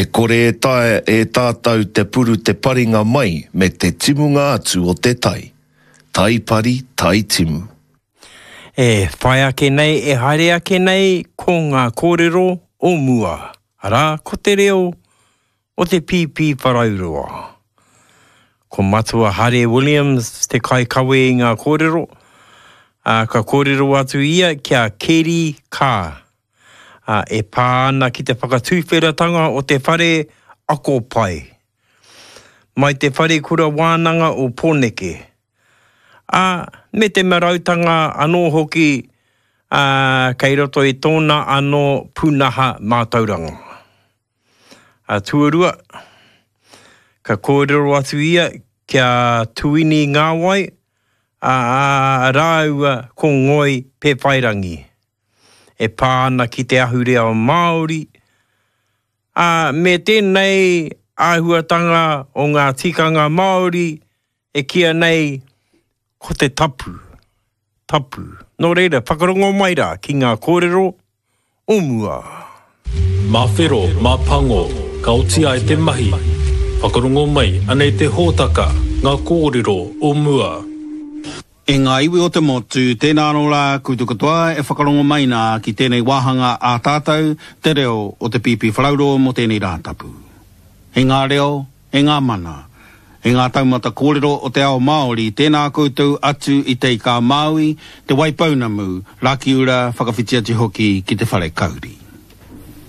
E kore e taea e tātou te puru te paringa mai me te timunga atu o te tai. Tai pari, tai timu. E whai ake nei, e haere ake nei ko ngā kōrero o mua, arā, ko te reo o te Pīpīwharauroa. Ko Matua Hare Williams te kaikawe i ngā kōrero, ā, ka kōrero atu ia ki a Keri Kaa, ā, e pā ana ki te whakatuwheratanga o te whare ako pai mai te Wharekura Wānanga o Pōneke, ā, me te marautanga anō hoki, ā, kei roto i tōna anō pūnaha mātauranga. Ā, tuarua, ka kōrero atu ia ki a Tuini Ngāwai, ā, rāua ko Ngoi Pēwhairangi. E pā ana ki te ahurea Māori, ā, me tēnei āhuatanga o ngā tikanga Māori e kīa nei ko te tapu, tapu. Nō reira, whakarongo mai rā ki ngā kōrero o mua. Mā whero, mā pango, ka oti ai te mahi. Whakarongo mai, anei te hōtaka, ngā kōrero o mua. E ngā iwi o te motu, tēnā anō rā koutou katoa e whakarongo mai nā ki tēnei wāhanga ā tātou, te reo o te Pīpīwharauroa mō tēnei Rātapu. E ngā reo, e ngā mana, e ngā taumata kōrero o te ao Māori, tēnā koutou atu i Te Ika-a-Māui, Te Waipounamu, Rakiura, whakawhiti atu hoki ki Te Wharekauri.